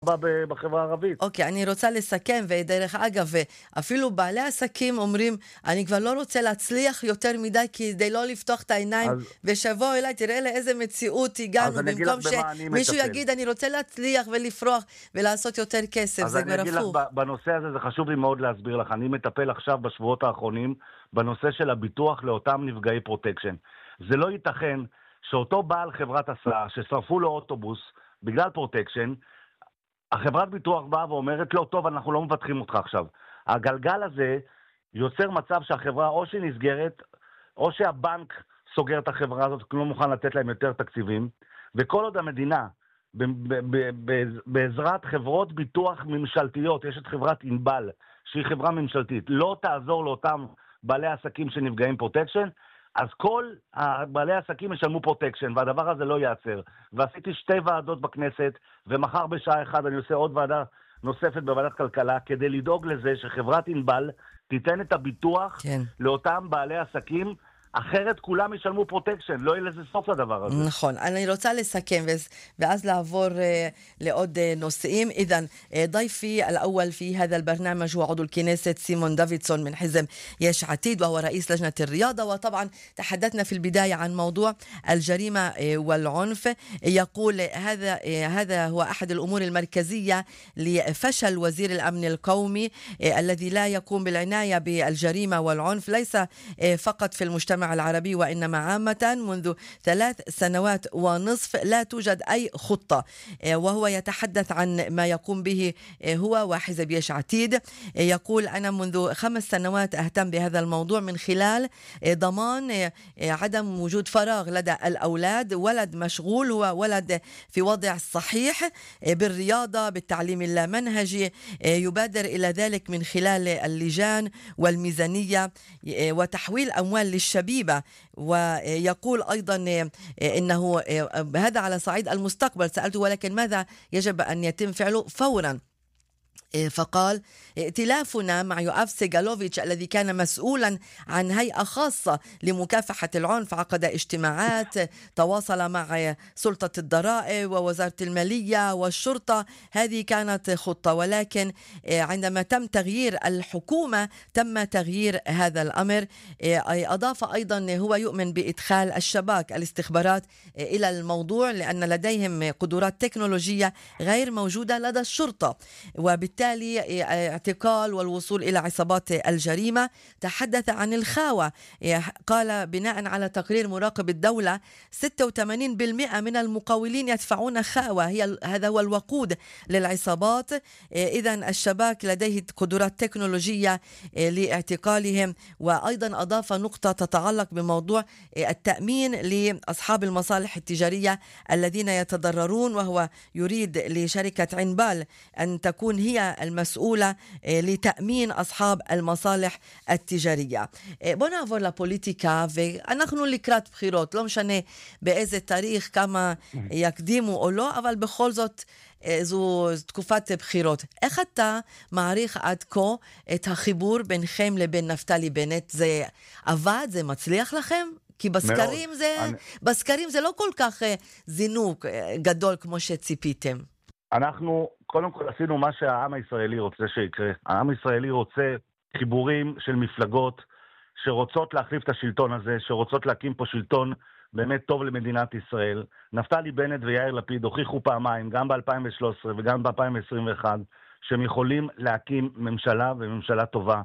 ההטבה בחברה הערבית. אוקיי, אני רוצה לסכם, ודרך אגב, אפילו בעלי עסקים אומרים, אני כבר לא רוצה להצליח יותר מדי כדי לא לפתוח את העיניים, אז ושבוא אליי, תראה לאיזה מציאות הגענו, אני אגיד לך במקום במה אני שמישהו מטפל. יגיד, אני רוצה להצליח ולפרוח ולעשות יותר כסף, אז זה אני כבר אגיד לך, הפוך. בנושא הזה זה חשוב לי מאוד להסביר לך. אני מטפל עכשיו בשבועות האחרונים בנושא של הביטוח לאותם נפגעי פרוטקשן. זה לא ייתכן שאותו בעל חברת הסעה ששרפו לו אוטובוס בגלל פרוטקשן, החברת ביטוח באה ואומרת לו, טוב, אנחנו לא מבטחים אותך עכשיו. הגלגל הזה יוצר מצב שהחברה או שהיא נסגרת, או שהבנק סוגר את החברה הזאת, כי הוא לא מוכן לתת להם יותר תקציבים, וכל עוד המדינה, בעזרת חברות ביטוח ממשלתיות, יש את חברת אינבל, שהיא חברה ממשלתית, לא תעזור לאותם בעלי עסקים שנפגעים פרוטקשן, אז כל בעלי העסקים ישלמו פרוטקשן, והדבר הזה לא ייעצר. ועשיתי 2 ועדות בכנסת, ומחר בשעה 1 אני עושה עוד ועדה נוספת בוועדת כלכלה, כדי לדאוג לזה שחברת אינבל תיתן את הביטוח כן. לאותם בעלי עסקים, אחרת כולם ישלמו פרוטקשן, לא יהיה לזה סוף לדבר הזה. נכון, אני רוצה לסכם ואז לעבור לעוד نصئين. إذن ضيفي الأول في هذا البرنامج هو عضو الكنيسة سيمون دافيدسون من حزب يش عتيد، وهو رئيس لجنة الرياضة. وطبعا تحدثنا في البداية عن موضوع الجريمة والعنف. يقول هذا هو أحد الأمور المركزية لفشل وزير الأمن القومي الذي لا يقوم بالعناية بالجريمة والعنف، ليس فقط في المجتمع العربي وإنما عامة. منذ 3 سنوات ونصف لا توجد أي خطة، وهو يتحدث عن ما يقوم به هو وحزب يش عتيد. يقول أنا منذ 5 سنوات أهتم بهذا الموضوع من خلال ضمان عدم وجود فراغ لدى الأولاد، ولد مشغول هو ولد في وضع صحيح بالرياضة بالتعليم اللامنهجي، يبادر إلى ذلك من خلال اللجان والميزانية وتحويل أموال للشبيبة. ويقول أيضا إنه هذا على صعيد المستقبل. سألته ولكن ماذا يجب أن يتم فعله فورا؟ فقال ائتلافنا مع يؤاف سيغالوفيتش الذي كان مسؤولا عن هيئة خاصة لمكافحة العنف عقد اجتماعات، تواصل مع سلطة الضرائب ووزارة المالية والشرطة. هذه كانت خطة، ولكن عندما تم تغيير الحكومة تم تغيير هذا الأمر. أضاف أيضا هو يؤمن بإدخال الشباك الاستخبارات إلى الموضوع لأن لديهم قدرات تكنولوجية غير موجودة لدى الشرطة، وبالتالي اعتقال والوصول إلى عصابات الجريمة. تحدث عن الخاوة، قال بناء على تقرير مراقب الدولة 86% من المقاولين يدفعون خاوة، هذا هو الوقود للعصابات. إذن الشباك لديه قدرات تكنولوجية لاعتقالهم. وأيضا أضاف نقطة تتعلق بموضوع التأمين لأصحاب المصالح التجارية الذين يتضررون، وهو يريد لشركة عنبال أن تكون هي المسؤولة لتأمين أصحاب المصالح התיג'ריה. בוא נעבור לפוליטיקה, ואנחנו לקראת בחירות, לא משנה באיזה תאריך, כמה יקדימו או לא, אבל בכל זאת זו תקופת בחירות. איך אתה מעריך עד כה את החיבור בינכם לבין נפתלי בנט? זה עבד? זה מצליח לכם? כי בסקרים זה לא כל כך זינוק גדול כמו שציפיתם. אנחנו קודם כל עשינו מה שהעם הישראלי רוצה שיקרה. העם הישראלי רוצה חיבורים של מפלגות שרוצות להחליף את השלטון הזה, שרוצות להקים פה שלטון באמת טוב למדינת ישראל. נפתלי בנט ויאיר לפיד הוכיחו פעמיים, גם ב-2013 וגם ב-2021, שהם יכולים להקים ממשלה וממשלה טובה.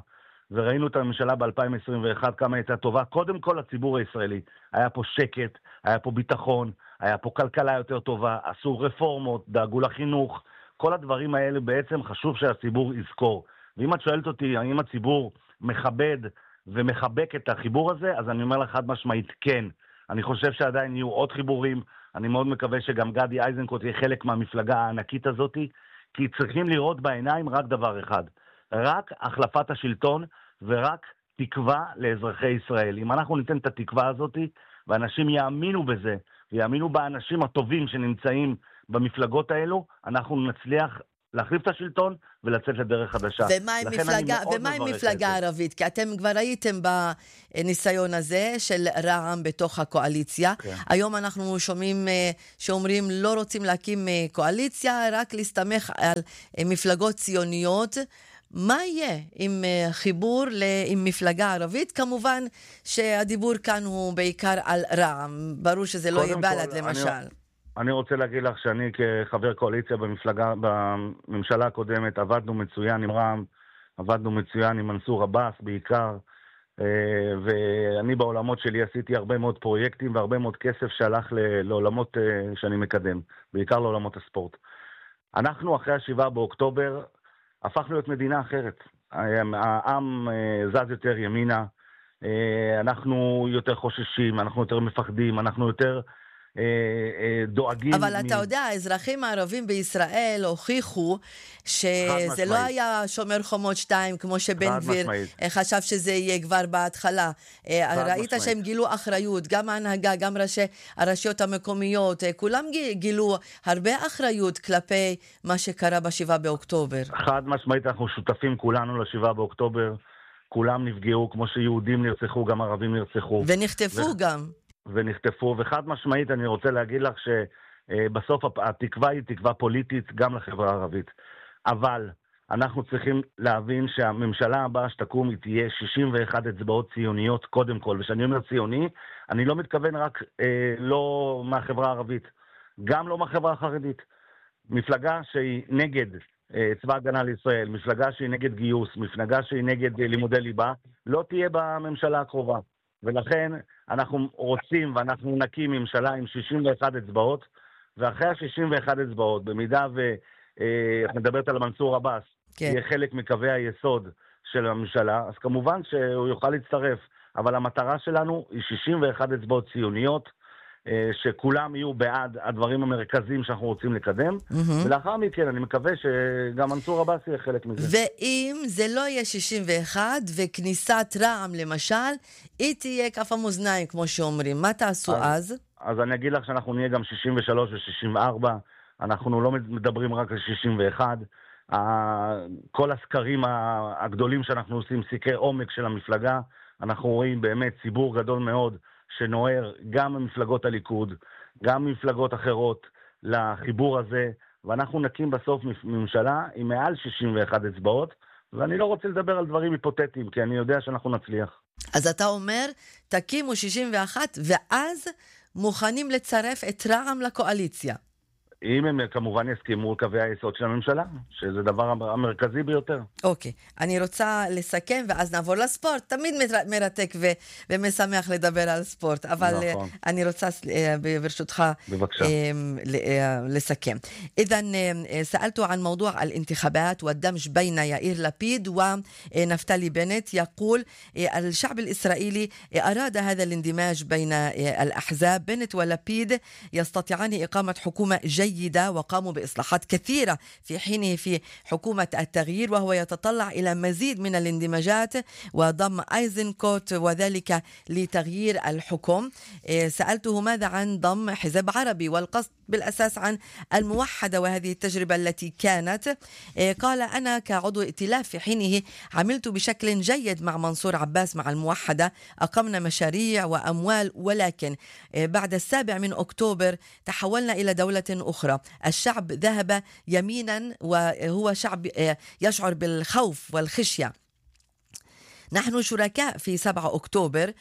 וראינו את הממשלה ב-2021 כמה הייתה טובה. קודם כל הציבור הישראלי. היה פה שקט, היה פה ביטחון, היה פה כלכלה יותר טובה, עשו רפורמות, דאגו לחינוך. כל הדברים האלה בעצם חשוב שהציבור יזכור. ואם את שואלת אותי, האם הציבור מכבד ומחבק את החיבור הזה, אז אני אומר לך חד משמעית כן. אני חושב שעדיין יהיו עוד חיבורים. אני מאוד מקווה שגם גדי איזנקוט יהיה חלק מהמפלגה הענקית הזאת, כי צריכים לראות בעיניים רק דבר אחד. רק החלפת השלטון ורק תקווה לאזרחי ישראל. אם אנחנו ניתן את התקווה הזאת, ואנשים יאמינו בזה, ויאמינו באנשים הטובים שנמצאים במפלגות האלו, אנחנו נצליח להחליף את השלטון ולצאת לדרך חדשה. ומה עם מפלגה ערבית? כי אתם כבר הייתם בניסיון הזה של רע"מ בתוך הקואליציה. היום אנחנו שומעים שאומרים לא רוצים להקים קואליציה, רק להסתמך על מפלגות ציוניות. מה יהיה עם חיבור עם מפלגה ערבית? כמובן שהדיבור כאן הוא בעיקר על רע"מ. ברור שזה לא יהיה בל"ד למשל. אני רוצה להגיד לך שאני כחבר קואליציה בממשלה הקודמת עבדנו מצוין עם רע"מ, עבדנו מצוין עם מנסור עבאס בעיקר, ואני בעולמות שלי עשיתי הרבה מאוד פרויקטים והרבה מאוד כסף שהלך לעולמות שאני מקדם, בעיקר לעולמות הספורט. אנחנו אחרי 7 באוקטובר הפכנו להיות מדינה אחרת. העם זז יותר ימינה, אנחנו יותר חוששים, אנחנו יותר מפחדים, אנחנו יותר דואגים. אבל אתה יודע, האזרחים הערבים בישראל הוכיחו שזה לא היה שומר חומות 2 כמו שבן גביר חשב שזה יהיה כבר בהתחלה. ראית שהם גילו אחריות, גם ההנהגה, גם הרשויות המקומיות, כולם גילו הרבה אחריות כלפי מה שקרה ב7 באוקטובר. חד משמעית, אנחנו שותפים כולנו ל7 באוקטובר, כולם נפגעו, כמו שיהודים נרצחו, גם ערבים נרצחו. ונחטפו גם. ונחטפו, וחד משמעית אני רוצה להגיד לך שבסוף התקווה היא תקווה פוליטית גם לחברה הערבית. אבל אנחנו צריכים להבין שהממשלה הבאה שתקום היא תהיה 61 אצבעות ציוניות קודם כל, ושאני אומר ציוני, אני לא מתכוון רק לא מהחברה הערבית, גם לא מהחברה החרדית. מפלגה שהיא נגד צבא הגנה לישראל, מפלגה שהיא נגד גיוס, מפלגה שהיא נגד לימודי ליבה, לא תהיה בממשלה הקרובה. ולכן אנחנו רוצים ואנחנו נקים ממשלה עם 61 אצבעות, ואחרי ה-61 אצבעות, במידה את מדברת על מנסור עבאס, יהיה חלק מקווי היסוד של הממשלה, אז כמובן שהוא יוכל להצטרף, אבל המטרה שלנו היא 61 אצבעות ציוניות, שכולם יהיו בעד הדברים המרכזיים שאנחנו רוצים לקדם, ולאחר מכן אני מקווה שגם מנסור עבאס יהיה חלק מזה. ואם זה לא יהיה 61 וכניסת רע"מ למשל, היא תהיה כף המאזניים כמו שאומרים, מה תעשו אז? אז אני אגיד לך שאנחנו נהיה גם 63 ו-64, אנחנו לא מדברים רק על 61, כל הסקרים הגדולים שאנחנו עושים, סקרי עומק של המפלגה, אנחנו רואים באמת ציבור גדול מאוד שנוער גם ממפלגות הליכוד, גם ממפלגות אחרות לחיבור הזה, ואנחנו נקים בסוף ממשלה עם מעל 61 אצבעות, ואני לא רוצה לדבר על דברים היפותטיים, כי אני יודע שאנחנו נצליח. אז אתה אומר, תקימו 61 ואז מוכנים לצרף את רע"מ לקואליציה. אם הם כמובן יסכימו קווי היסוד של הממשלה, שזה דבר המרכזי ביותר. אוקיי, אני רוצה לסכם ואז נעבור לספורט. תמיד מרתק ומשמח לדבר על ספורט, אבל אני רוצה ברשותך לסכם. إذن سألت عن موضوع الانتخابات والدمج بين يائير لبيد ونفتالي بنت. يقول الشعب الإسرائيلي أراد هذا الاندماج بين الأحزاب. بنت ولبيد يستطيعان إقامة حكومة جيدة وقاموا بإصلاحات كثيرة في حينه في حكومة التغيير، وهو يتطلع إلى مزيد من الاندماجات وضم أيزنكوت وذلك لتغيير الحكم. سألته ماذا عن ضم حزب عربي والقصد بالأساس عن الموحدة وهذه التجربة التي كانت. قال أنا كعضو ائتلاف في حينه عملت بشكل جيد مع منصور عباس مع الموحدة، أقمنا مشاريع وأموال، ولكن بعد 7 أكتوبر تحولنا إلى دولة أخرى. الشعب ذهب يمينا وهو شعب يشعر بالخوف والخشية. نحن شركاء في 7 أكتوبر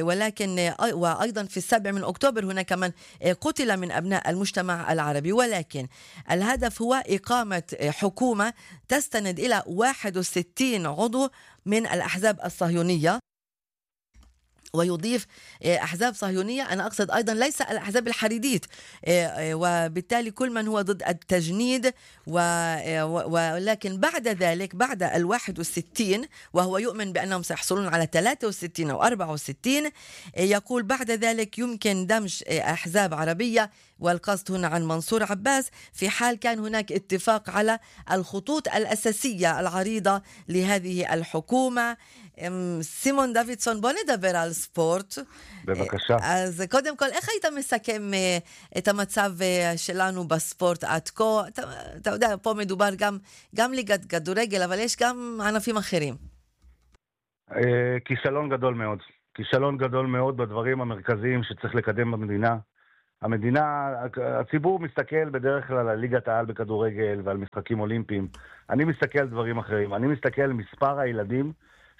ولكن وأيضا في 7 أكتوبر هناك من قتل من أبناء المجتمع العربي، ولكن الهدف هو إقامة حكومة تستند إلى 61 عضو من الأحزاب الصهيونية. ويضيف أحزاب صهيونية، أنا أقصد أيضا ليس الأحزاب الحريديت، وبالتالي كل من هو ضد التجنيد ولكن بعد ذلك بعد 61 وهو يؤمن بأنهم سيحصلون على 63 أو 64، يقول بعد ذلك يمكن دمج أحزاب عربية والقصد هنا عن منصور عباس في حال كان هناك اتفاق على الخطوط الأساسية العريضة لهذه الحكومة. סימון דוידסון, בוא נדבר על ספורט. בבקשה. אז קודם כל, איך היית מסכם את המצב שלנו בספורט עד כה? אתה יודע, פה מדובר גם ליגת כדורגל, אבל יש גם ענפים אחרים. כישלון גדול מאוד. כישלון גדול מאוד בדברים המרכזיים שצריך לקדם במדינה. הציבור מסתכל בדרך כלל על ליגת העל בכדורגל ועל משחקים אולימפיים. אני מסתכל על דברים אחרים. אני מסתכל על מספר הילדים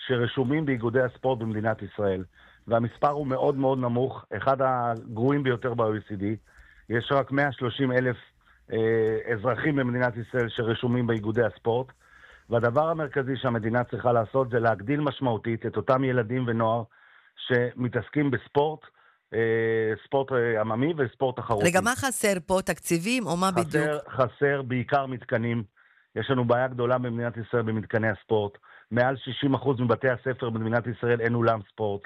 שרשומים באיגודי הספורט במדינת ישראל. והמספר הוא מאוד מאוד נמוך, אחד הגרועים ביותר ב-OECD. יש רק 130,000 אזרחים במדינת ישראל שרשומים באיגודי הספורט. והדבר המרכזי שהמדינה צריכה לעשות זה להגדיל משמעותית את אותם ילדים ונוער שמתעסקים בספורט, ספורט עממי וספורט תחרותי. רגע, מה חסר פה? תקציבים או מה בדיוק? חסר בעיקר מתקנים. יש לנו בעיה גדולה במדינת ישראל במתקני הספורט. מעל 60% מבתי הספר במדינת ישראל אין אולם ספורט.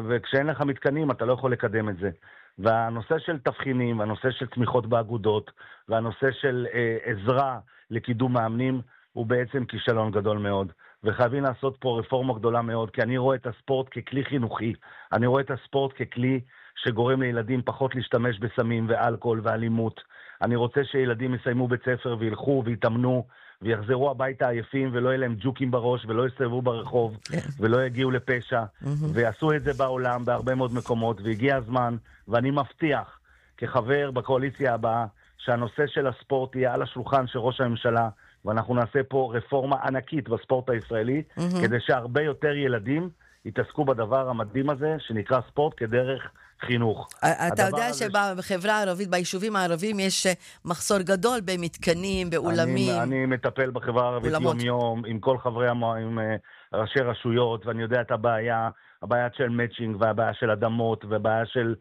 וכשאין לך מתקנים אתה לא יכול לקדם את זה. והנושא של תבחינים, והנושא של תמיכות באגודות, והנושא של עזרה לקידום מאמנים, הוא בעצם כישלון גדול מאוד. וחייבים לעשות פה רפורמה גדולה מאוד, כי אני רואה את הספורט ככלי חינוכי. אני רואה את הספורט ככלי שגורם לילדים פחות להשתמש בסמים ואלכוהול ואלימות. אני רוצה שילדים יסיימו בית ספר וילכו ויתאמנו, ויחזרו הביתה עייפים ולא יהיה להם ג'וקים בראש ולא יסתובבו ברחוב ולא יגיעו לפשע. ויעשו את זה בעולם בהרבה מאוד מקומות, והגיע הזמן, ואני מבטיח כחבר בקואליציה הבאה שהנושא של הספורט יהיה על השולחן של ראש הממשלה, ואנחנו נעשה פה רפורמה ענקית בספורט הישראלי, כדי שהרבה יותר ילדים יתעסקו בדבר המדהים הזה שנקרא ספורט כדרך חינוך. אתה יודע שבחברה הערבית, ביישובים הערבים, יש מחסור גדול במתקנים, באולמים. אני מטפל בחברה הערבית יום יום, עם כל חברי עם ראשי רשויות, ואני יודע את הבעיה של מאצ'ינג, והבעיה של אדמות, והבעיה של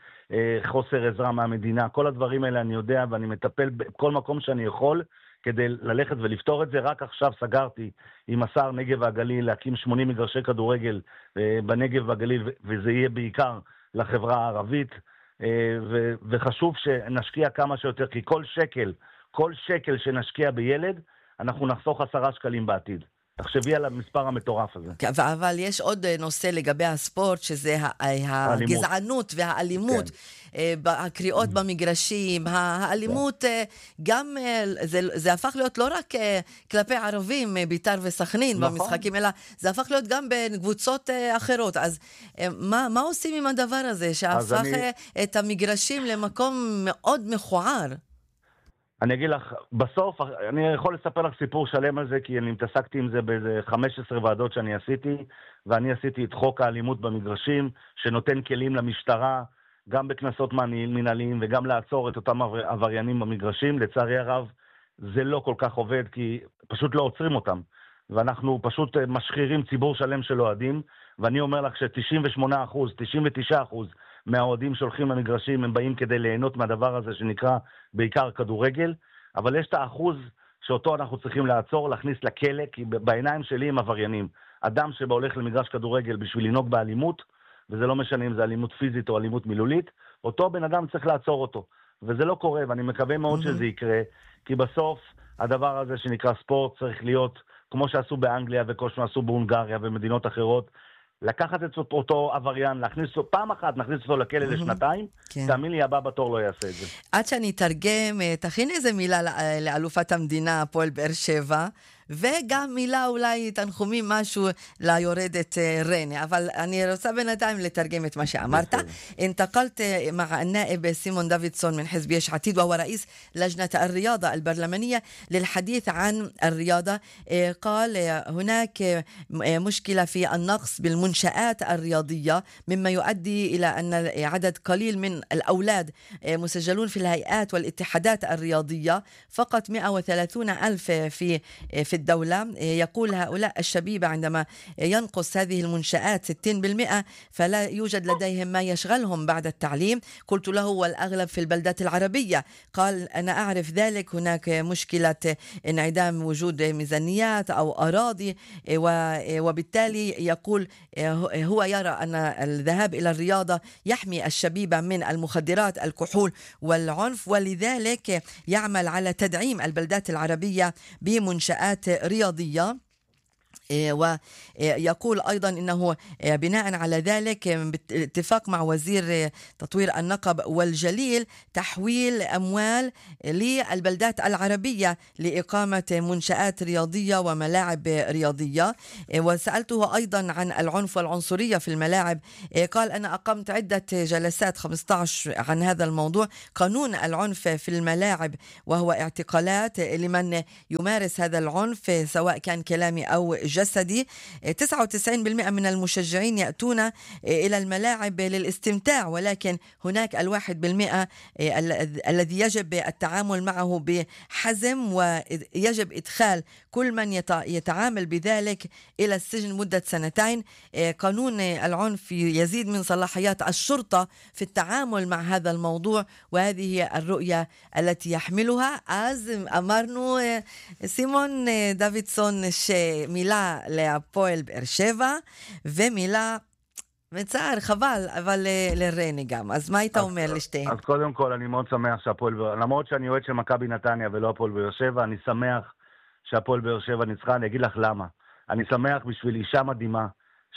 חוסר עזרה מהמדינה. כל הדברים האלה אני יודע, ואני מטפל בכל מקום שאני יכול, כדי ללכת ולפתור את זה. רק עכשיו סגרתי עם השר נגב והגליל להקים 80 מגרשי כדורגל בנגב והגליל, וזה יהיה בעיקר לחברה הערבית, וחשוב שנשקיע כמה שיותר, כי כל שקל שנשקיע בילד, אנחנו נחסוך 10 שקלים בעתיד. תחשבי על המספר המטורף הזה. אבל יש עוד נושא לגבי הספורט, שזה הגזענות והאלימות, הקריאות במגרשים, האלימות, גם זה הפך להיות לא רק כלפי ערבים, ביתר וסכנין במשחקים, אלא זה הפך להיות גם בין קבוצות אחרות. אז מה עושים עם הדבר הזה, שהפך את המגרשים למקום מאוד מכוער? אני אגיד לך, בסוף, אני יכול לספר לך סיפור שלם על זה, כי אני מתעסקתי עם זה באיזה 15 ועדות שאני עשיתי, ואני עשיתי את חוק האלימות במגרשים, שנותן כלים למשטרה, גם בכנסות מנהליים, וגם לעצור את אותם עבריינים במגרשים. לצערי הרב, זה לא כל כך עובד, כי פשוט לא עוצרים אותם. ואנחנו פשוט משחירים ציבור שלם של אוהדים, ואני אומר לך ש98%, 99% מהאוהדים שהולכים למגרשים, הם באים כדי ליהנות מהדבר הזה שנקרא בעיקר כדורגל, אבל יש את האחוז שאותו אנחנו צריכים לעצור, להכניס לכלא, כי בעיניים שלי הם עבריינים. אדם שבא הולך למגרש כדורגל בשביל לנהוג באלימות, וזה לא משנה אם זה אלימות פיזית או אלימות מילולית, אותו בן אדם צריך לעצור אותו. וזה לא קורה, ואני מקווה מאוד שזה יקרה, כי בסוף הדבר הזה שנקרא ספורט צריך להיות, כמו שעשו באנגליה וכמו שעשו בהונגריה ומדינות אחרות, לקחת את אותו עבריין, להכניס אותו, פעם אחת נכניס אותו לכלא לשנתיים, תאמין לי, הבא בתור לא יעשה את זה. עד שאני אתרגם, תכין איזה מילה לאלופת המדינה, הפועל באר שבע, וגם מילה אולי תנחומים משהו ליורדת ריינה, אבל אני רוצה בינתיים לתרגם את מה שאמרת. انتقلت مع النائب سيمون دافيدسون من حزب يش عتيد وهو رئيس لجنة الرياضة البرلمانية للحديث عن الرياضة. قال هناك مشكلة في النقص بالمنشآت الرياضية، مما يؤدي إلى أن عدد قليل من الأولاد مسجلون في الهيئات والاتحادات الرياضية، فقط 130,000 في الدولة. يقول هؤلاء الشبيبة عندما ينقص هذه المنشآت 60% فلا يوجد لديهم ما يشغلهم بعد التعليم. قلت له والأغلب في البلدات العربية. قال أنا أعرف ذلك، هناك مشكلة انعدام وجود ميزانيات أو أراضي، وبالتالي يقول هو يرى أن الذهاب إلى الرياضة يحمي الشبيبة من المخدرات، الكحول والعنف، ولذلك يعمل على تدعيم البلدات العربية بمنشآت رياضية. ويقول أيضا أنه بناء على ذلك باتفاق مع وزير تطوير النقب والجليل تحويل أموال للبلدات العربية لإقامة منشآت رياضية وملاعب رياضية. وسألته أيضا عن العنف والعنصرية في الملاعب. قال أنا أقمت عدة جلسات 15 عن هذا الموضوع، قانون العنف في الملاعب، وهو اعتقالات لمن يمارس هذا العنف سواء كان كلامي أو جسدي. 99% من المشجعين يأتون إلى الملاعب للاستمتاع، ولكن هناك 1% الذي يجب التعامل معه بحزم، ويجب إدخال كل من يتعامل بذلك إلى السجن مدة 2 سنين. قانون العنف يزيد من صلاحيات الشرطة في التعامل مع هذا الموضوع، وهذه هي الرؤية التي يحملها. אז אמרנו סימון דוידסון שמילה להפועל באר שבע ומילה מצער, חבל, אבל לרני גם. אז מה היית אומר לשתיהם? אז קודם כל אני מאוד שמח שהפועל, למרות שאני אוהד של מכבי נתניה ולא הפועל באר שבע, אני שמח שהפועל באר שבע ניצחה. אני אגיד לך למה. אני שמח בשביל אישה מדהימה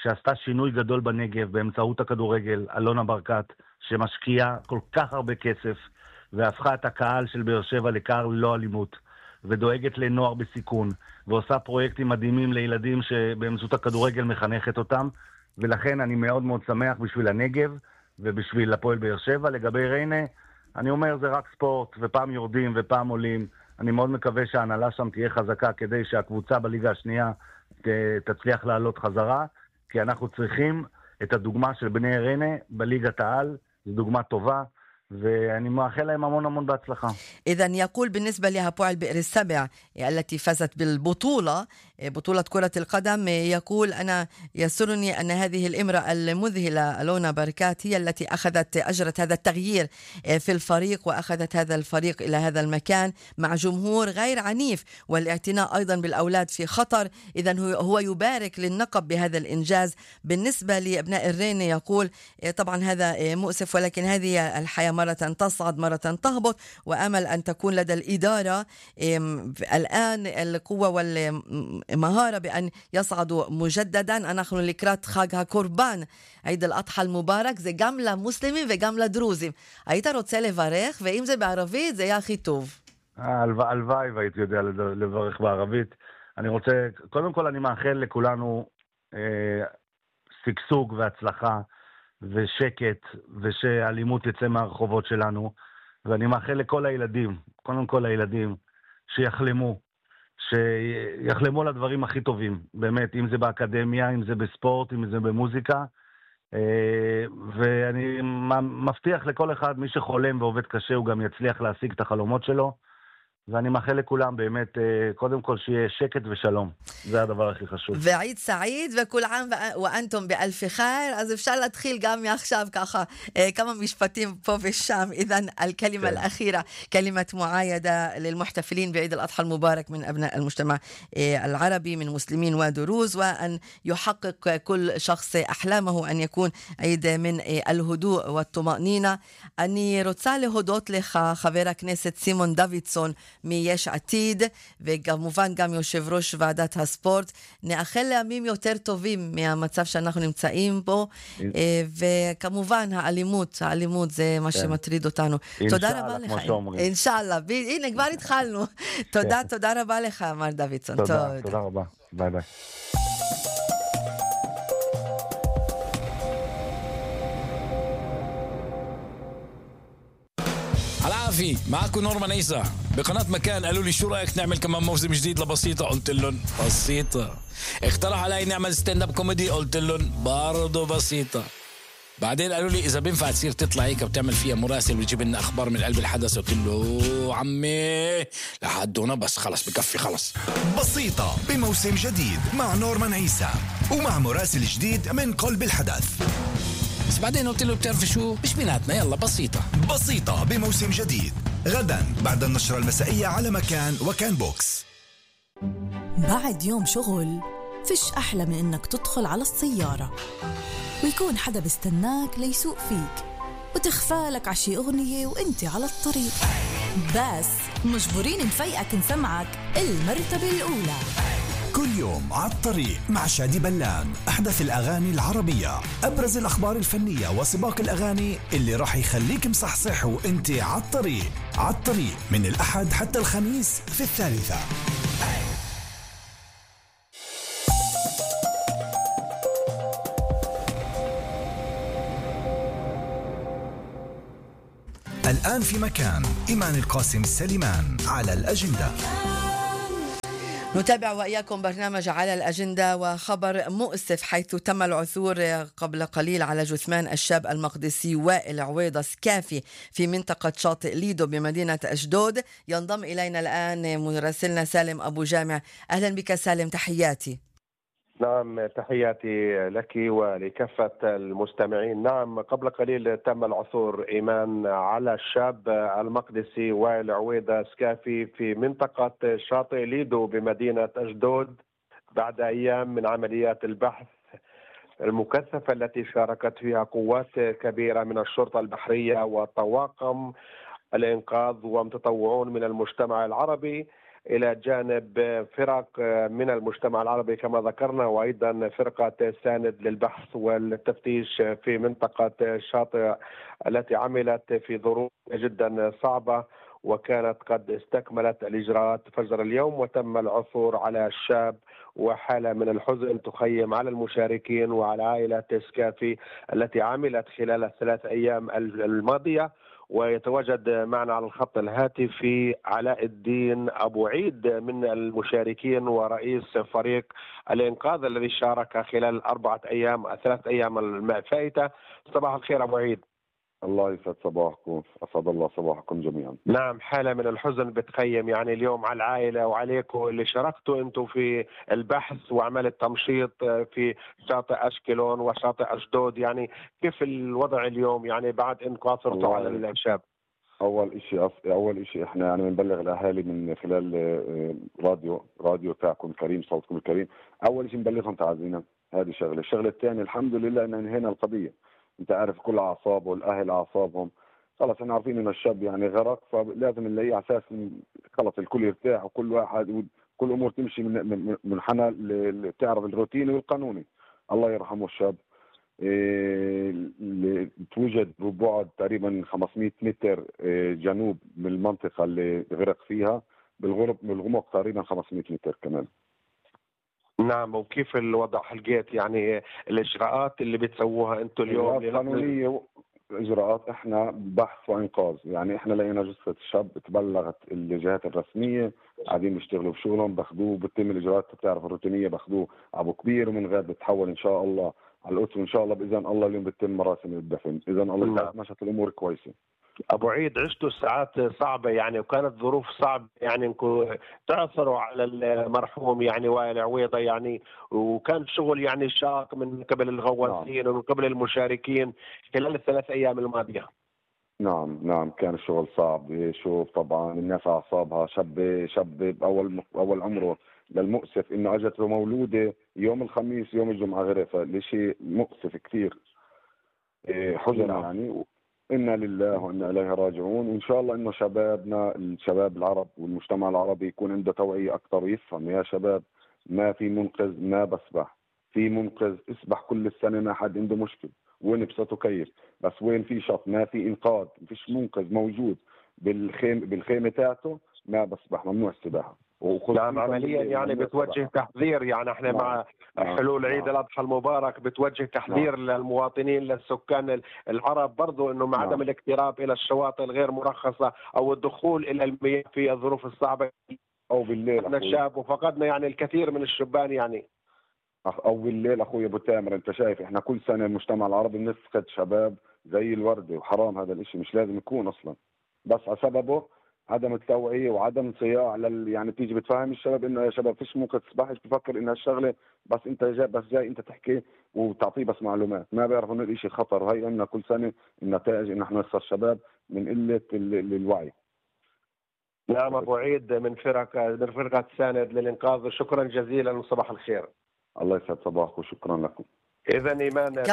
שעשתה שינוי גדול בנגב באמצעות הכדורגל, אלונה ברקת, שמשקיעה כל כך הרבה כסף והפכה את הקהל של באר שבע לקהל לא אלימות, ודואגת לנוער בסיכון, ועושה פרויקטים מדהימים לילדים שבאמצעות הכדורגל מחנכת אותם. ולכן אני מאוד מאוד שמח בשביל הנגב ובשביל הפועל באר שבע. לגבי ריינה, אני אומר זה רק ספורט, ופעם יורדים ופעם עולים. אני מאוד מקווה שההנהלה שם תהיה חזקה כדי שהקבוצה בליגה השנייה תצליח לעלות חזרה, כי אנחנו צריכים את הדוגמה של בני ריינה בליגת העל. זו דוגמה טובה, ואני מאחל להם המון המון בהצלחה. إذن يقول بالنسبة لهappoel بئر السبع التي فازت بالبطولة، بطولة كرة القدم، يقول أنا يسرني أن هذه الامرأة المذهلة ألونا بركات هي التي أجرت هذا التغيير في الفريق، وأخذت هذا الفريق إلى هذا المكان مع جمهور غير عنيف، والاعتناء أيضا بالأولاد في خطر. إذن هو يبارك للنقب بهذا الإنجاز. بالنسبة لأبناء الرين يقول طبعا هذا مؤسف، ولكن هذه الحياة، مرة تصعد مرة تهبط، وأمل أن تكون لدى الإدارة الآن القوة والمهارة بأن يصعدوا مجددا. אנחנו לקראת חג הקורבן, עיד אל-אדחא المبارك, זה גם למוסלמים וגם לדרוזים. היית רוצה לברך, ואם זה בערבית זה יהיה הכי טוב. הלוואי והייתי יודע לברך בערבית. אני רוצה, קודם כל אני מאחל לכולנו שגשוג והצלחה ושקט, ושהאלימות יצא מהרחובות שלנו. ואני מאחל לכל הילדים, קודם כל הילדים, שיחלמו לדברים הכי טובים, באמת, אם זה באקדמיה, אם זה בספורט, אם זה במוזיקה. ואני מבטיח לכל אחד, מי שחולם ועובד קשה, הוא גם יצליח להשיג את החלומות שלו. ואני מאחל לכולם באמת, קודם כל שיהיה שקט ושלום. זה הדבר הכי חשוב. ועיד סעיד, וכל עام ואנתום באלף חיר. אז אפשר להתחיל גם מעכשיו ככה כמה משפטים פה ושם. إذن الكلمة الأخيرة كلمة معايدة للمحتفلين بعيد الأضحى المبارك من أبناء المجتمع العربي من مسلمين ودروز، وأن يحقق كل شخص أحلامه أن يكون عيد من الهدوء والطمأنينة. אני רוצה להודות לך, חבר הכנסת סימון דוידסון מיש עתיד, וכמובן גם יושב ראש ועדת הספורט. נאחל לימים יותר טובים מהמצב שאנחנו נמצאים בו, וכמובן האלימות זה מה שמטריד אותנו. תודה רבה לך. אינשאללה, הנה כבר התחלנו. תודה רבה לך מר דוידסון. תודה רבה, ביי ביי. العافية معكم نورمان عيسى بقناة مكان. قالوا لي شو رأيك نعمل كمان موسم جديد لبسيطة؟ قلت لهم بسيطة. اقترح علي نعمل ستاند اب كوميدي؟ قلت لهم برضو بسيطة. بعدين قالوا لي اذا بينفع تصير تطلع هيك وتعمل فيها مراسل وتجيب لنا اخبار من قلب الحدث. قلت له عمي لحد هنا بس، خلص بكفي خلص. بسيطة بموسم جديد مع نورمان عيسى ومع مراسل جديد من قلب الحدث. بس بعدين قلت له بتعرف شو، مش بيناتنا، يلا بسيطة. بسيطة بموسم جديد غدا بعد النشرة المسائية على مكان وكان بوكس. بعد يوم شغل فيش أحلى من إنك تدخل على السيارة ويكون حدا بستناك ليسوق فيك وتخفالك عشي أغنية وإنتي على الطريق، بس مجبورين نفيقك نسمعك المرتبة الأولى. كل يوم على الطريق مع شادي بلان، أحدث الأغاني العربية، أبرز الأخبار الفنية وسباق الأغاني اللي راح يخليك مصحصح وإنتي على الطريق. على الطريق من الأحد حتى الخميس في 3. الآن في مكان إيمان القاسم سليمان على الأجندة. نتابع وإياكم برنامج على الأجندة، وخبر مؤسف حيث تم العثور قبل قليل على جثمان الشاب المقدسي وائل عويضة سكافي في منطقة شاطئ ليدو بمدينة أشدود. ينضم إلينا الآن مراسلنا سالم أبو جامع. أهلا بك سالم، تحياتي. نعم، تحياتي لك ولكافة المستمعين. نعم، قبل قليل تم العثور إيمان على الشاب المقدسي وائل عويضة سكافي في منطقة شاطئ ليدو بمدينة أشدود بعد أيام من عمليات البحث المكثفة التي شاركت فيها قوات كبيرة من الشرطة البحرية وطواقم الإنقاذ ومتطوعون من المجتمع العربي، إلى جانب فرق من المجتمع العربي كما ذكرنا، وأيضا فرقة ساند للبحث والتفتيش في منطقة الشاطئ التي عملت في ظروف جدا صعبة، وكانت قد استكملت الإجراءات فجر اليوم. وتم العثور على الشاب، وحالة من الحزن تخيم على المشاركين وعلى عائلة سكافي التي عملت خلال 3 أيام الماضية. ويتواجد معنا على الخط الهاتفي علاء الدين أبو عيد من المشاركين ورئيس فريق الإنقاذ الذي شارك خلال 3 أيام الفائتة. صباح الخير أبو عيد. الله يسعد صباحكم، أسعد الله صباحكم جميعا. نعم، حالة من الحزن بتخيم يعني اليوم على العائلة وعليكم اللي شاركتوا أنتم في البحث وعمل التمشيط في شاطئ أشكلون وشاطئ أشدود. يعني كيف الوضع اليوم يعني بعد أنكم عثرتوا على الشاب؟ أول إشي إحنا يعني بنبلغ الأهالي من خلال راديو تاعكم الكريم، صوتكم الكريم. أول إشي نبلغهم تعازينا، هذه شغلة. الشغلة الثانية الحمد لله أن انهينا القضية. انت عارف كل اعصابه والاهل اعصابهم، خلص احنا عارفين ان الشاب يعني غرق، فلازم نلاقيه على اساس خلص الكل يرتاح وكل واحد كل امور تمشي من منحنى تعرف الروتيني والقانوني. الله يرحمه الشاب. توجد ببعد تقريبا 500 متر جنوب من المنطقه اللي غرق فيها، بالغمق تقريبا 500 متر كمان. نعم، وكيف الوضع حلقيت يعني الإجراءات اللي بتسووها أنتم اليوم؟ قانونية إجراءات، إحنا بحث وإنقاذ. يعني إحنا لقينا جثة الشاب، تبلغت الجهات الرسمية، قاعدين بيشتغلوا بشغلهم، باخذوه بتتم الإجراءات بتعرف الروتينية، باخذوه أبو كبير ومن غير بتحول إن شاء الله على القدس، وإن شاء الله بإذن الله اليوم بتتم مراسم الدفن. إذن الله مشت الأمور كويسة. أبو عيد، عشتوا ساعات صعبة يعني وكانت ظروف صعبة يعني انكم تعثروا على المرحوم يعني وائل عويضة يعني، وكان شغل يعني شاق من قبل الغواصين ومن قبل المشاركين خلال ال3 أيام الماضية. نعم كان الشغل صعب. شوف طبعا الناس أعصابها، شاب بأول عمره. للمؤسف إنه أجت له مولودة يوم الخميس يوم الجمعة غيره، فالشيء مؤسف كثير. حزن يعني. إنا لله وإنا إليه راجعون. وإن شاء الله إنه شبابنا، الشباب العرب والمجتمع العربي يكون عنده توعية أكثر ويفهم يا شباب ما في منقذ ما بسبح، في منقذ اسبح كل السنة، ما حد عنده مشكلة وين بسطه كيف، بس وين في شط ما في إنقاذ، ما فيش منقذ موجود بالخيمة تاعته ما بسبح، ممنوع السباحة. نعم، عمليا يعني بتوجه تحذير. يعني احنا مع حلول عيد الأضحى المبارك بتوجه تحذير للمواطنين للسكان العرب برضو انه مع عدم الاقتراب الى الشواطئ الغير مرخصة او الدخول الى المياه في الظروف الصعبة او بالليل. احنا الشاب وفقدنا يعني الكثير من الشبان يعني. أول الليل أخوي أبو تامر، أنت شايف إحنا كل سنة المجتمع العربي بنفقد شباب زي الوردة، وحرام هذا الإشي، مش لازم يكون أصلا، بس على سببه عدم التوعية وعدم صياع يعني تيجي بتفهم الشباب إنه يا شباب فيش ممكن تسبحش، بفكر إنها الشغلة بس أنت جاي أنت تحكي وتعطيه بس معلومات، ما بيعرفوا إنه الإشي خطر. وهي عندنا كل سنة النتائج إن إحنا نخسر شباب من قلة الوعي. نعم أبو عيد من فرقة ساند للإنقاذ، شكرا جزيلا وصباح الخير. الله يسعد صباحك وشكرا لكم. إذا إيمان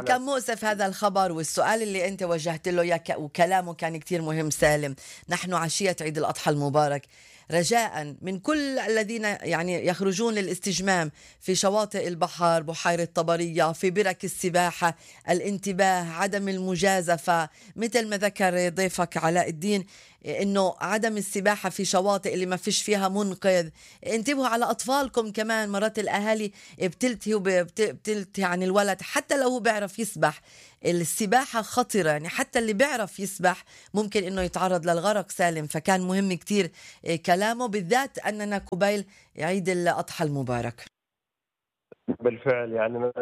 كم مؤسف هذا الخبر، والسؤال اللي أنت وجهت له إياه وكلامه كان كتير مهم سالم. نحن عشية عيد الأضحى المبارك، رجاء من كل الذين يعني يخرجون للاستجمام في شواطئ البحر، بحيرة طبرية، في برك السباحة، الانتباه، عدم المجازفة، مثل ما ذكر ضيفك علاء الدين انه عدم السباحة في شواطئ اللي ما فيش فيها منقذ. انتبهوا على اطفالكم كمان، مرات الاهالي بتلتهي عن الولد حتى لو هو بيعرف يسبح. السباحة خطرة، يعني حتى اللي بيعرف يسبح ممكن انه يتعرض للغرق سالم. فكان مهم كتير كلامه، بالذات اننا قبيل عيد الاضحى المبارك. بالفعل يعني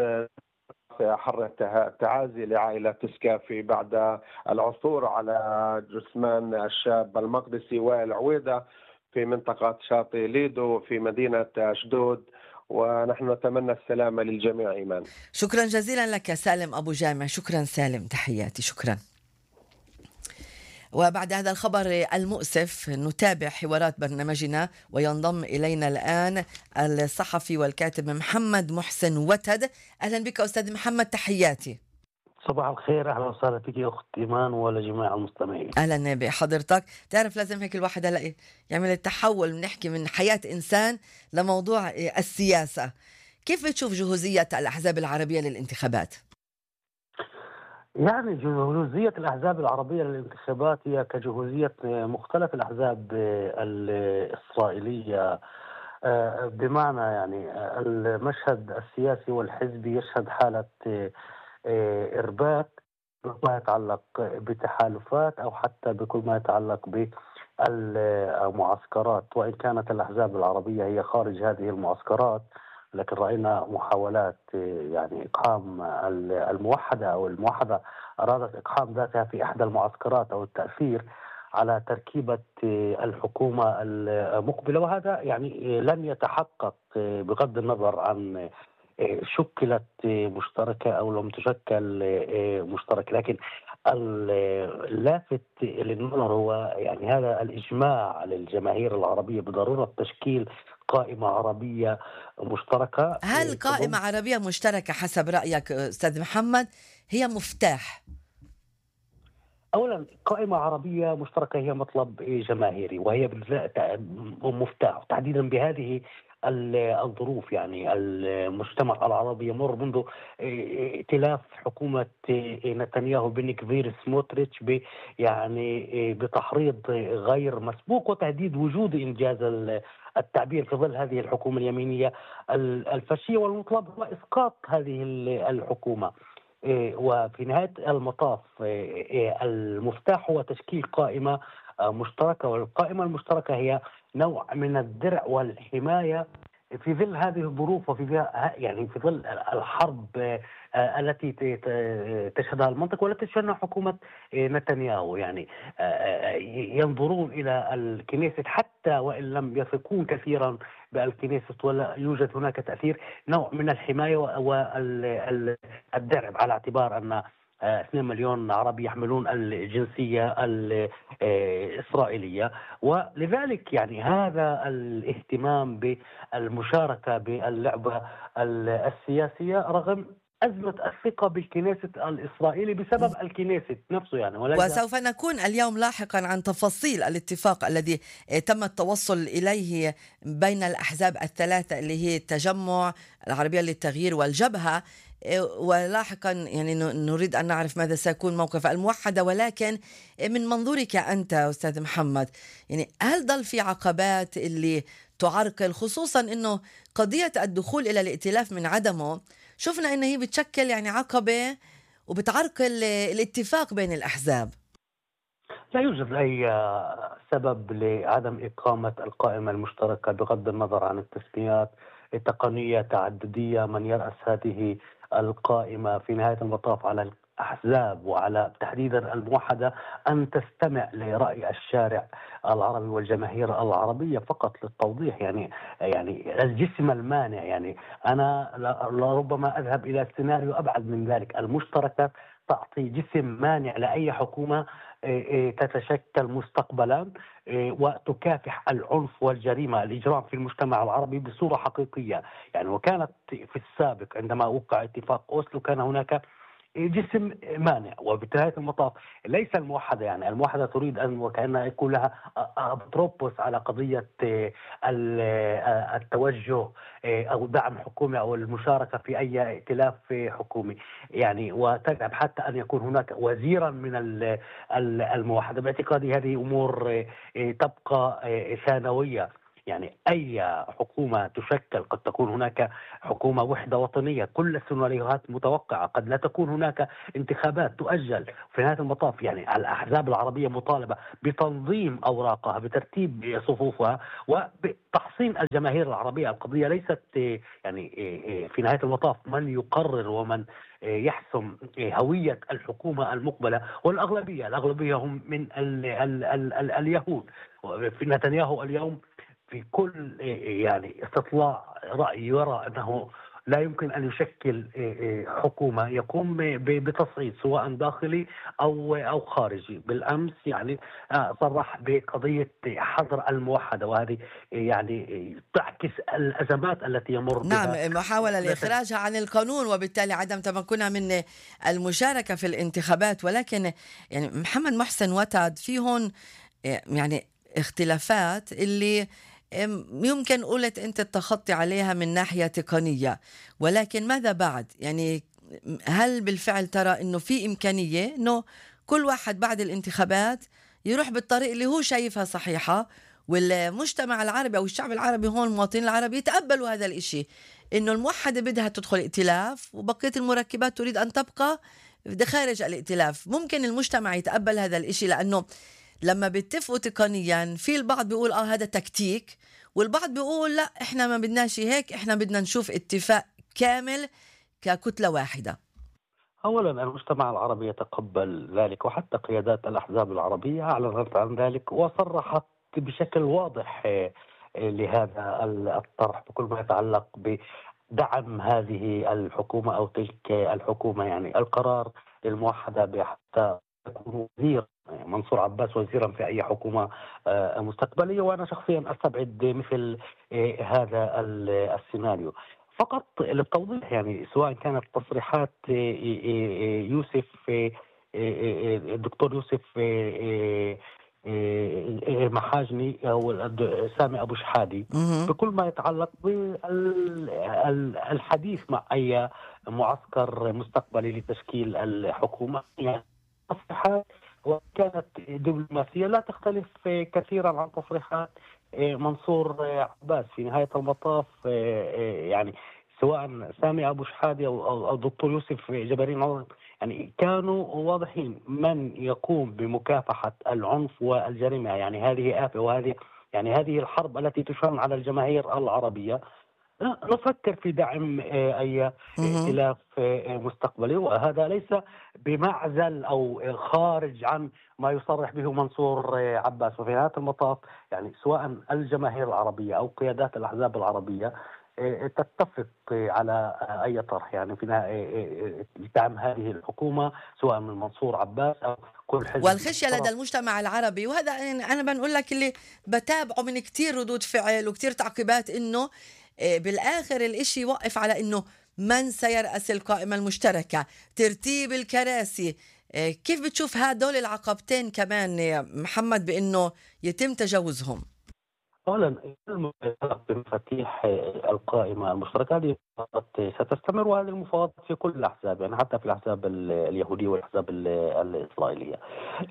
أحر التعازي لعائلة سكافي بعد العثور على جثمان الشاب المقدسي وائل عويدة في منطقة شاطئ ليدو في مدينة أشدود، ونحن نتمنى السلامة للجميع. إيمان، شكرا جزيلا لك سالم أبو جامع. شكرا سالم، تحياتي، شكرا. وبعد هذا الخبر المؤسف نتابع حوارات برنامجنا، وينضم إلينا الآن الصحفي والكاتب محمد محسن وتد. أهلا بك أستاذ محمد، تحياتي. صباح الخير، أهلا وسهلا فيك أخت إيمان ولجميع المستمعين. أهلا بحضرتك. تعرف لازم هيك الواحد هلا يعمل التحول، نحكي من حياة إنسان لموضوع السياسة. كيف بتشوف جهوزية الأحزاب العربية للانتخابات؟ يعني جهوزية الأحزاب العربية للانتخابات هي كجهوزية مختلف الأحزاب الإسرائيلية، بمعنى يعني المشهد السياسي والحزبي يشهد حالة إرباك بما يتعلق بتحالفات أو حتى بكل ما يتعلق بالمعسكرات، وإن كانت الأحزاب العربية هي خارج هذه المعسكرات، لكن رأينا محاولات يعني إقحام الموحدة أو الموحدة أرادت إقحام ذاتها في إحدى المعسكرات أو التأثير على تركيبة الحكومة المقبلة، وهذا يعني لن يتحقق بغض النظر عن شكلت مشتركة أو لم تشكل مشتركة. لكن اللافت للنظر هو يعني هذا الإجماع للجماهير العربية بضرورة تشكيل قائمة عربية مشتركة. هل قائمة عربية مشتركة حسب رأيك أستاذ محمد هي مفتاح؟ أولا، قائمة عربية مشتركة هي مطلب جماهيري، وهي مفتاح تحديدا بهذه الظروف. يعني المجتمع العربي يمر منذ ائتلاف حكومة نتنياهو بنكفير سموتريتش يعني بتحريض غير مسبوق وتهديد وجود إنجاز التعبير في ظل هذه الحكومة اليمينية الفاشية، والمطلب هو إسقاط هذه الحكومة. وفي نهاية المطاف المفتاح هو تشكيل قائمة مشتركة، والقائمة المشتركة هي نوع من الدرع والحماية في ظل هذه الظروف، وفي يعني في ظل الحرب التي تشهدها المنطقة والتي تشهدها حكومة نتنياهو. يعني ينظرون إلى الكنيست حتى وإن لم يثقون كثيرا بالكنيست ولا يوجد هناك تأثير، نوع من الحماية والدرع، على اعتبار أن 2 مليون عربي يحملون الجنسية الإسرائيلية. ولذلك يعني هذا الاهتمام بالمشاركة باللعبة السياسية رغم أزمة الثقة بالكنيست الإسرائيلي بسبب الكنيست نفسه. يعني وسوف نكون اليوم لاحقا عن تفاصيل الاتفاق الذي تم التوصل إليه بين الأحزاب الثلاثة اللي هي التجمع، العربية للتغيير، والجبهة، ولاحقا يعني نريد أن نعرف ماذا سيكون موقف الموحدة. ولكن من منظورك أنت أستاذ محمد، يعني هل ظل في عقبات اللي تعرقل، خصوصا أنه قضية الدخول إلى الائتلاف من عدمه شفنا أنه هي بتشكل يعني عقبة وبتعرقل الاتفاق بين الأحزاب؟ لا يوجد أي سبب لعدم إقامة القائمة المشتركة بغض النظر عن التسميات. تقنية تعددية، من يرأس هذه القائمة في نهاية المطاف على الأحزاب وعلى تحديدا الموحدة أن تستمع لرأي الشارع العربي والجماهير العربية فقط. للتوضيح يعني الجسم المانع، يعني أنا لربما أذهب إلى سيناريو أبعد من ذلك. المشتركة تعطي جسم مانع لأي حكومة تتشكل مستقبلا وتكافح العنف والجريمة الإجرام في المجتمع العربي بصورة حقيقية. يعني وكانت في السابق عندما وقع اتفاق أوسلو كان هناك جسم مانع، وبنهاية المطاف ليس الموحدة، يعني الموحدة تريد أن وكأنها يكون لها أبتروبوس على قضية التوجه أو دعم حكومي أو المشاركة في أي ائتلاف حكومي، يعني وتذهب حتى أن يكون هناك وزيرا من الموحدة. باعتقادي هذه أمور تبقى ثانوية. يعني أي حكومة تشكل، قد تكون هناك حكومة وحدة وطنية، كل السيناريوهات متوقعة، قد لا تكون هناك انتخابات تؤجل. في نهاية المطاف يعني الأحزاب العربية مطالبة بتنظيم أوراقها، بترتيب صفوفها، وبتحصين الجماهير العربية. القضية ليست يعني في نهاية المطاف من يقرر ومن يحسم هوية الحكومة المقبلة، والأغلبية هم من اليهود. في نتنياهو اليوم في كل يعني استطلاع رأي يرى أنه لا يمكن أن يشكل حكومة يقوم بتصعيد سواء داخلي أو خارجي. بالأمس يعني صرح بقضية حظر الموحدة، وهذه يعني تعكس الأزمات التي يمر بها. نعم، محاولة لإخراجها عن القانون وبالتالي عدم تمكنها من المشاركة في الانتخابات. ولكن يعني محمد محسن وتد فيهن يعني اختلافات اللي يمكن قلت أنت التخطي عليها من ناحية تقنية، ولكن ماذا بعد؟ يعني هل بالفعل ترى أنه في إمكانية أنه كل واحد بعد الانتخابات يروح بالطريق اللي هو شايفها صحيحة، والمجتمع العربي أو الشعب العربي هون المواطنين العرب يتقبلوا هذا الإشي، أنه الموحدة بدها تدخل ائتلاف وبقية المركبات تريد أن تبقى خارج الائتلاف؟ ممكن المجتمع يتقبل هذا الإشي؟ لأنه لما بيتفقوا تقنيا في البعض بيقول هذا تكتيك، والبعض بيقول لا احنا ما بدناش هيك، احنا بدنا نشوف اتفاق كامل ككتلة واحدة. أولا المجتمع العربي يتقبل ذلك، وحتى قيادات الأحزاب العربية أعلنت عن ذلك وصرحت بشكل واضح لهذا الطرح بكل ما يتعلق بدعم هذه الحكومة أو تلك الحكومة. يعني القرار للموحدة بحتى يكون وزير منصور عباس وزيرا في أي حكومة مستقبلية، وأنا شخصيا أستبعد مثل هذا السيناريو. فقط للتوضيح يعني سواء كانت تصريحات يوسف الدكتور يوسف محاجني أو سامي أبو شحادي بكل ما يتعلق بالحديث مع أي معسكر مستقبلي لتشكيل الحكومة، يعني تصريحات وكانت دبلوماسية لا تختلف كثيرا عن تصريحات منصور عباس. في نهاية المطاف يعني سواء سامي أبو شحادي أو الدكتور يوسف جبارين يعني كانوا واضحين من يقوم بمكافحة العنف والجريمة. يعني هذه آفة، وهذه يعني هذه الحرب التي تشن على الجماهير العربية. نفكر في دعم أي ائتلاف مستقبلي، وهذا ليس بمعزل أو خارج عن ما يصرح به منصور عباس. وفي نهاية المطاف يعني سواء الجماهير العربية أو قيادات الأحزاب العربية تتفق على أي طرح يعني في دعم هذه الحكومة سواء من منصور عباس أو كل حزب. والخشية لدى المجتمع العربي، وهذا أنا بنقول لك اللي بتابعه من كتير ردود فعل وكتير تعقيبات، إنه بالآخر الإشي يوقف على إنه من سيرأس القائمة المشتركة، ترتيب الكراسي. كيف بتشوف هدول العقبتين كمان يا محمد بإنه يتم تجاوزهم؟ أولا بمفاتيح القائمة المشتركة هذه ستستمر، وهذه المفاوضات في كل الأحزاب، يعني حتى في الأحزاب اليهودية والأحزاب الإسرائيلية.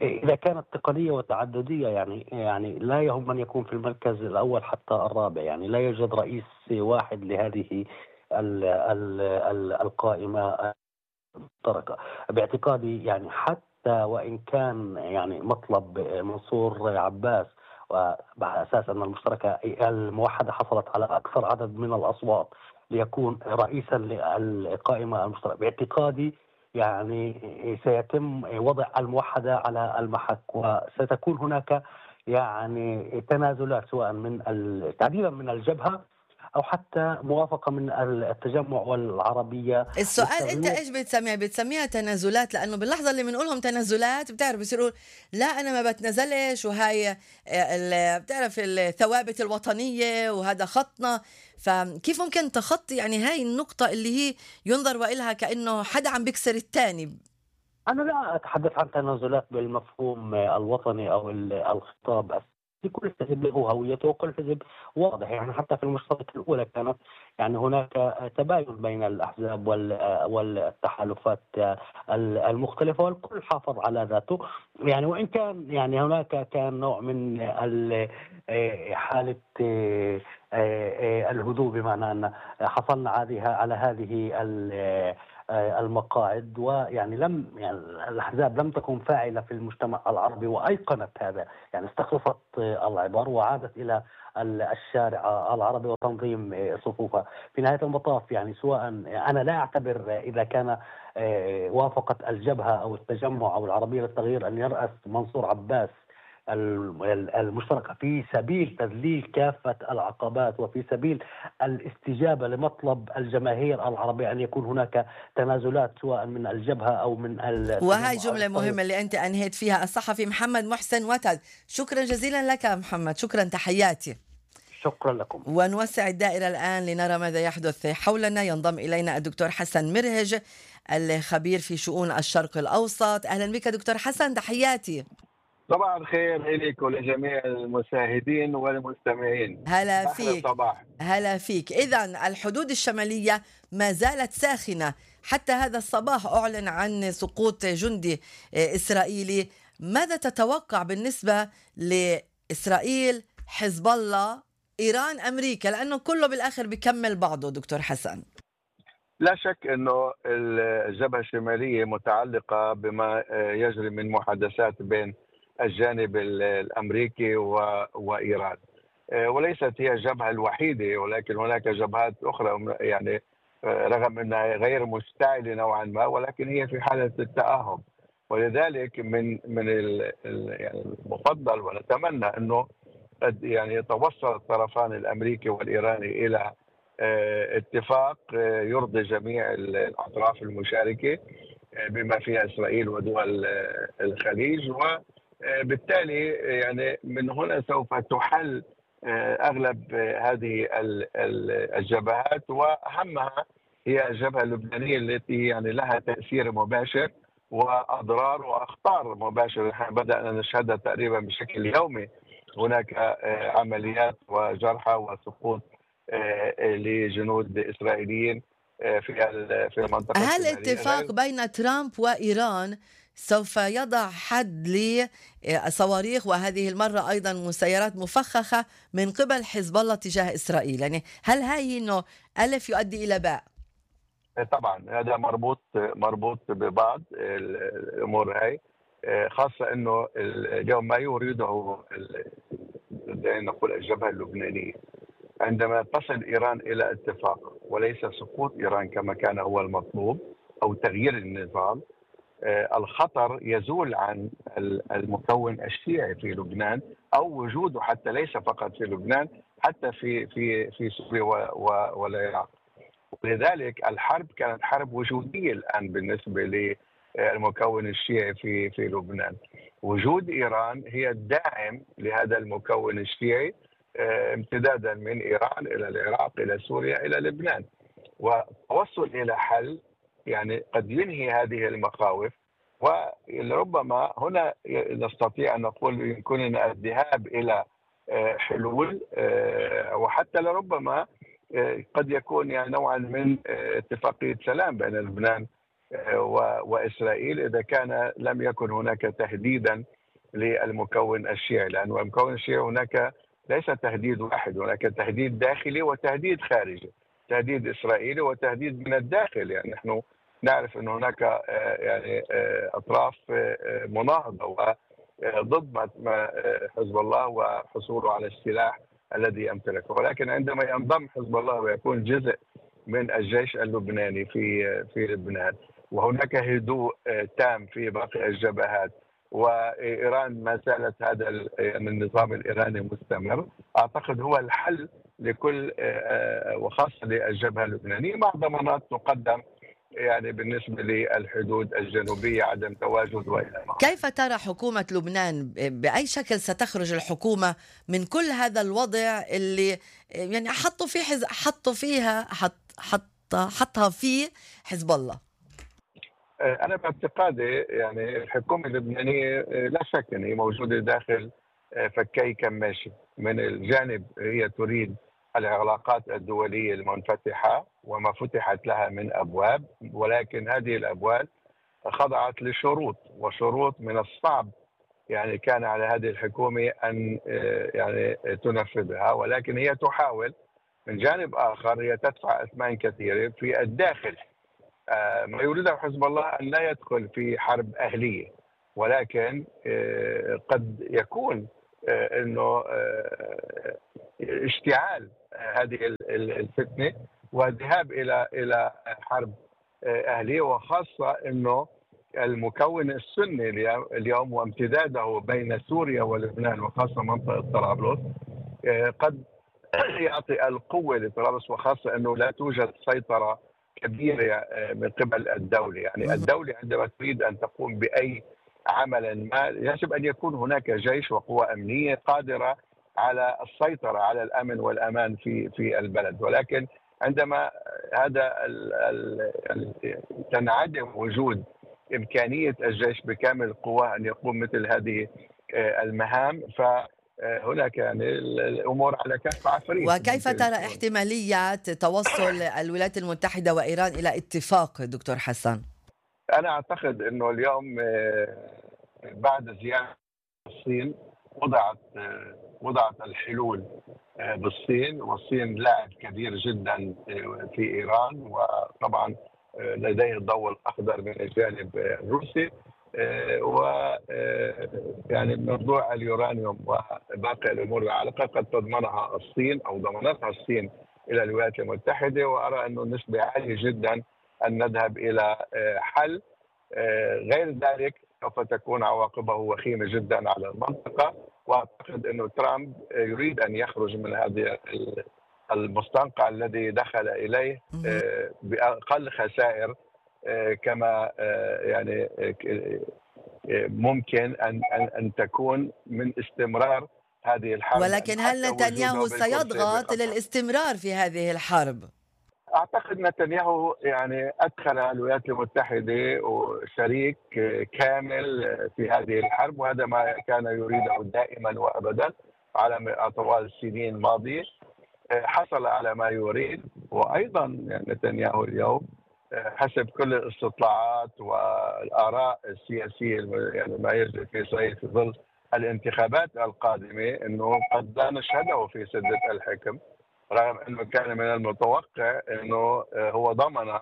إذا كانت تقنية وتعددية يعني لا يهم من يكون في المركز الأول حتى الرابع، يعني لا يوجد رئيس واحد لهذه القائمة المشتركة. باعتقادي يعني حتى حتى وإن كان يعني مطلب منصور عباس وعلى أساس أن المشتركة الموحدة حصلت على أكثر عدد من الأصوات ليكون رئيسا للقائمة المشتركة، باعتقادي يعني سيتم وضع الموحدة على المحك، وستكون هناك يعني تنازلات سواء من تعديلا من الجبهة أو حتى موافقة من التجمع والعربية. السؤال انت ايش بتسميها تنازلات؟ لانه باللحظه اللي بنقولهم تنازلات بتعرف بصيروا لا انا ما بتنازلش، وهاي بتعرف الثوابت الوطنيه وهذا خطنا. فكيف ممكن تخطي يعني هاي النقطه اللي هي ينظر وإلها كأنه حدا عم بيكسر الثاني؟ أنا لا أتحدث عن تنازلات بالمفهوم الوطني أو الخطاب. كل حزب له هويته وكل حزب واضح، يعني حتى في المشتركة الأولى كانت يعني هناك تباين بين الأحزاب والتحالفات المختلفة، والكل حافظ على ذاته. يعني وإن كان يعني هناك كان نوع من حالة الهدوء، بمعنى أن حصلنا على هذه المقاعد، ويعني يعني الأحزاب لم تكن فاعلة في المجتمع العربي وأيقنت هذا، يعني استخلصت العبر وعادت إلى الشارع العربي وتنظيم صفوفها. في نهاية المطاف يعني سواء أنا لا أعتبر إذا كان وافقت الجبهة أو التجمع أو العربية للتغيير أن يرأس منصور عباس المشتركة في سبيل تذليل كافة العقبات وفي سبيل الاستجابة لمطلب الجماهير العربية أن يكون هناك تنازلات سواء من الجبهة أو من وهي جملة مهمة اللي أنت أنهيت فيها. الصحفي محمد محسن وتد، شكرا جزيلا لك محمد، شكرا، تحياتي. شكرا لكم. ونوسع الدائرة الآن لنرى ماذا يحدث حولنا. ينضم إلينا الدكتور حسن مرهج الخبير في شؤون الشرق الأوسط. أهلا بك دكتور حسن، تحياتي. صباح الخير إليك ولجميع المشاهدين والمستمعين. هلا فيك. صباح. هلا فيك. إذن الحدود الشمالية ما زالت ساخنة حتى هذا الصباح، أعلن عن سقوط جندي إسرائيلي. ماذا تتوقع بالنسبة لإسرائيل، حزب الله، إيران، أمريكا؟ لأنه كله بالآخر بيكمل بعضه دكتور حسن. لا شك أنه الجبهة الشمالية متعلقة بما يجري من محادثات بين الجانب الأمريكي وإيران، وليست هي الجبهة الوحيدة، ولكن هناك جبهات أخرى يعني رغم أنها غير مشتعلة نوعا ما، ولكن هي في حالة التأهب. ولذلك من يعني المفضل ونتمنى أنه قد يعني يتوصل الطرفان الأمريكي والإيراني إلى اتفاق يرضي جميع الأطراف المشاركة بما فيها إسرائيل ودول الخليج، وبالتالي يعني من هنا سوف تحل أغلب هذه الجبهات، وأهمها هي الجبهة اللبنانية التي يعني لها تأثير مباشر وأضرار وأخطار مباشرة نحن بدأنا نشهدها تقريبا بشكل يومي. هناك عمليات وجرحى وسقوط لجنود إسرائيليين في المنطقة. هل اتفاق بين ترامب وإيران سوف يضع حد لصواريخ وهذه المرة أيضا مسيرات مفخخة من قبل حزب الله تجاه إسرائيل؟ يعني هل هاي إنه ألف يؤدي إلى باء؟ طبعا هذا مربوط ببعض الأمور هاي، خاصة أنه اليوم ما يريده نقول الجبهة اللبنانية عندما تصل إيران إلى اتفاق وليس سقوط إيران كما كان هو المطلوب أو تغيير النظام، الخطر يزول عن المكون الشيعي في لبنان أو وجوده حتى ليس فقط في لبنان، حتى في سوريا والعراق. ولذلك الحرب كانت حرب وجودية الآن بالنسبة للمكون الشيعي في لبنان. وجود إيران هي الداعم لهذا المكون الشيعي امتدادا من إيران إلى العراق إلى سوريا إلى لبنان، والتوصل إلى حل يعني قد ينهي هذه المخاوف. ولربما هنا نستطيع أن نقول يمكننا الذهاب إلى حلول، وحتى لربما قد يكون يعني نوعا من اتفاقية سلام بين لبنان وإسرائيل إذا كان لم يكن هناك تهديدا للمكون الشيعي، لأن المكون الشيعي هناك ليس تهديد واحد، هناك تهديد داخلي وتهديد خارجي، تهديد إسرائيلي وتهديد من الداخل. يعني نحن نعرف أن هناك يعني أطراف مناهضة وضد ما حزب الله وحصوله على السلاح الذي يمتلكه، ولكن عندما ينضم حزب الله ويكون جزء من الجيش اللبناني في لبنان، وهناك هدوء تام في باقي الجبهات، وإيران ما زالت هذا النظام الإيراني مستمر، أعتقد هو الحل لكل وخاصة للجبهة اللبنانية، مع ضمانات تقدم يعني بالنسبة للحدود الجنوبية عدم تواجد وإلى ما. كيف ترى حكومة لبنان؟ بأي شكل ستخرج الحكومة من كل هذا الوضع اللي يعني حطها فيه حزب الله؟ أنا باعتقادي يعني الحكومة اللبنانية لا شك أن هي موجودة داخل فكي كماشي. من الجانب هي تريد العلاقات الدولية المنفتحة وما فتحت لها من أبواب، ولكن هذه الأبواب خضعت لشروط، وشروط من الصعب يعني كان على هذه الحكومة أن يعني تنفذها، ولكن هي تحاول. من جانب آخر هي تدفع أثمان كثيرة في الداخل. ما يريده حزب الله أن لا يدخل في حرب أهلية، ولكن قد يكون أنه اشتعال هذه الفتنة والذهاب إلى حرب أهلية، وخاصة أنه المكون السني اليوم وامتداده بين سوريا ولبنان وخاصة منطقة طرابلس قد يعطي القوة لطرابلس، وخاصة أنه لا توجد سيطرة كبيرة من قبل الدولة. يعني الدولة عندما تريد أن تقوم بأي عمل ما يجب أن يكون هناك جيش وقوى أمنية قادرة على السيطرة على الأمن والأمان في البلد، ولكن عندما هذا تنعدم وجود إمكانية الجيش بكامل قواه أن يقوم مثل هذه المهام، فهناك يعني الأمور على كف عفريت. وكيف ترى احتماليات توصل الولايات المتحدة وإيران إلى اتفاق دكتور حسن؟ أنا أعتقد أنه اليوم بعد زيارة الصين وضعت الحلول بالصين، والصين لاعب كبير جدا في إيران، وطبعا لديه الضوء الأخضر من الجانب الروسي، ويعني موضوع اليورانيوم وباقي الأمور العالقة قد تضمنها الصين أو ضمنتها الصين إلى الولايات المتحدة، وأرى أنه نسبة عالية جدا أن نذهب إلى حل، غير ذلك سوف تكون عواقبه وخيمة جدا على المنطقة. وأعتقد أنه ترامب يريد أن يخرج من هذه المستنقع الذي دخل إليه بأقل خسائر كما يعني ممكن أن تكون من استمرار هذه الحرب. ولكن هل نتنياهو سيضغط للاستمرار في هذه الحرب؟ أعتقد نتنياهو يعني أدخل الولايات المتحدة وشريك كامل في هذه الحرب، وهذا ما كان يريده دائما وأبدا على طوال السنين الماضية. حصل على ما يريد، وأيضا يعني نتنياهو اليوم حسب كل الاستطلاعات والآراء السياسية يعني ما يجري في إسرائيل في ظل الانتخابات القادمة أنه قد لا نشهده في سدة الحكم، رغم أنه كان من المتوقع أنه هو ضمن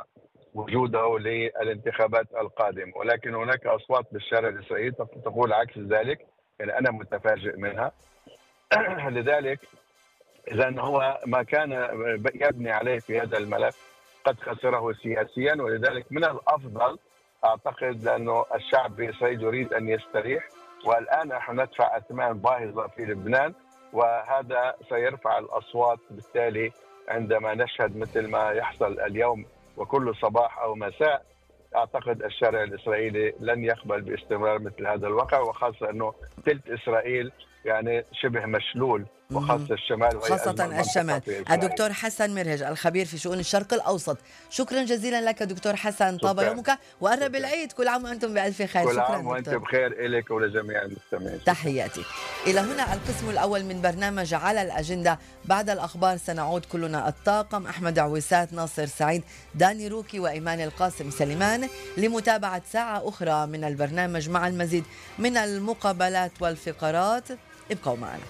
وجوده للانتخابات القادمة، ولكن هناك أصوات بالشارع الإسرائيلي تقول عكس ذلك، يعني أنا متفاجئ منها. لذلك إذن هو ما كان يبني عليه في هذا الملف قد خسره سياسيا، ولذلك من الأفضل أعتقد لأنه الشعب في إسرائيل يريد أن يستريح، والآن نحن ندفع أثمان باهظة في لبنان، وهذا سيرفع الأصوات. بالتالي عندما نشهد مثل ما يحصل اليوم وكل صباح أو مساء، أعتقد الشارع الإسرائيلي لن يقبل باستمرار مثل هذا الواقع، وخاصة أنه ثلث إسرائيل يعني شبه مشلول، وخاصة الشمال خاصة الشمال. الدكتور حسن مرهج الخبير في شؤون الشرق الأوسط، شكرا جزيلا لك دكتور حسن، طاب يومك وقرب العيد، كل عام وأنتم بألف خير. كل عام وأنتم بخير إليك ولجميع المستمعين. تحياتي. إلى هنا القسم الأول من برنامج على الأجندة. بعد الأخبار سنعود كلنا الطاقم أحمد عويسات، ناصر سعيد، داني روكي وإيمان القاسم سليمان لمتابعة ساعة أخرى من البرنامج مع المزيد من المقابلات والفقرات. ابقوا معنا.